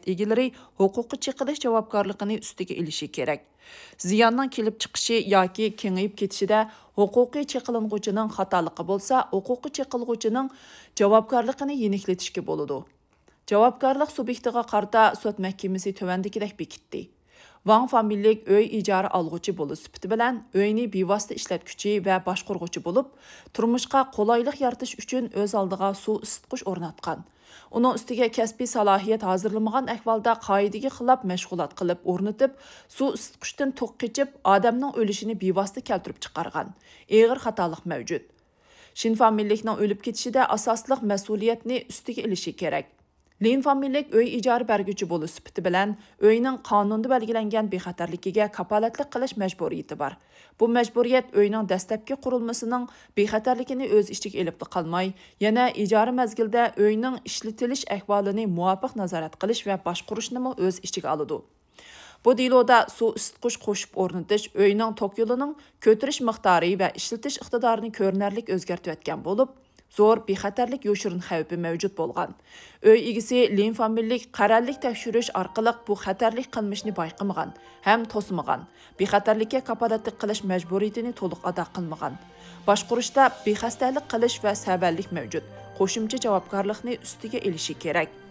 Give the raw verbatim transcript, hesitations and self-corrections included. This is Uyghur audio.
ئىگىلىرى ھوقۇققا چېقىلىش جاۋابكارلىقىنى ئۈستىگە ئېلىشى كېرەك. زىياننىڭ كېلىپ چىقىشى ياكى كېڭىيىپ كېتىشىدە ھوقۇقى چېقىلغۇچىنىڭ خاتالىقى بولسا، ھوقۇقى چېقىلغۇچىنىڭ جاۋابكارلىقىنى يېنىكلىتىشكە بولىدۇ. جاۋابكارلىق سۇبيېكتىغا قارىتا سوت مەھكىمىسى تۆۋەندىكىدەك بېكىتتى. ۋاڭ فامىلىلىك ئۆي ئىجارە ئالغۇچى بولۇش سۈپىتى بىلەن ئۆينى بىۋاسىتە ئىشلەتكۈچى ۋە باشقۇرغۇچى بولۇپ، تۇرمۇشقا قولايلىق يارىتىش ئۈچۈن ئۆز ئالدىغا سۇ ئىسسىتقۇچ ئورناتقان. ئۇنىڭ ئۈستىگە كەسپىي سالاھىيەت ھازىرلىمىغان ئەھۋالدا قائىدىگە خىلاپ مەشغۇلات قىلىپ ئورنىتىپ، سۇ ئىسسىتقۇچتىن توك قېچىپ، ئادەمنىڭ ئۆلۈشىنى بىۋاسىتە كەلتۈرۈپ چىقارغان. ئېغىر خاتالىق مەۋجۇت. شىن فامىلىلىكنىڭ ئۆلۈپ كېتىشىدە ئاساسلىق مەسئۇلىيەتنى ئۈستىگە ئېلىشى كېرەك. لىن فامىلىلىك ئۆي ئىجارە بەرگۈچى بولۇش سۈپىتى بىلەن ئۆينىڭ قانۇندا بەلگىلەنگەن بىخەتەرلىكىگە كاپالەتلىك قىلىش مەجبۇرىيىتى بار. بۇ مەجبۇرىيەت ئۆينىڭ دەسلەپكى قۇرۇلمىسىنىڭ بىخەتەرلىكىنى ئۆز ئىچىگە ئېلىپلا قالماي، يەنە ئىجارە مەزگىلىدە ئۆينىڭ ئىشلىتىلىش ئەھۋالىنى مۇۋاپىق نازارەت قىلىش ۋە باشقۇرۇشنىمۇ ئۆز ئىچىگە ئالىدۇ. بۇ دېلودا سۇ ئىسسىتقۇچ قوشۇپ ئورنىتىش ئۆينىڭ توك يولىنىڭ كۆتۈرۈش مىقدارى ۋە ئىشلىتىش ئىقتىدارىنى كۆرۈنەرلىك ئۆزگەرتىۋەتكەن بولۇپ، زور بىخەتەرلىك يوشۇرۇن خەۋپى مەۋجۇت بولغان. ئۆي ئىگىسى لىن فامىلىلىك قەرەللىك تەكشۈرۈش ئارقىلىق بۇ خەتەرلىك قىلمىشنى بايقىمىغان ھەم توسمىغان، بىخەتەرلىككە كاپالەتلىك قىلىش مەجبۇرىيىتىنى تولۇق ئادا قىلمىغان، باشقۇرۇشتا بىخەستەلىك قىلىش ۋە سەۋەنلىك مەۋجۇت، قوشۇمچە جاۋابكارلىقنى ئۈستىگە ئېلىشى كېرەك.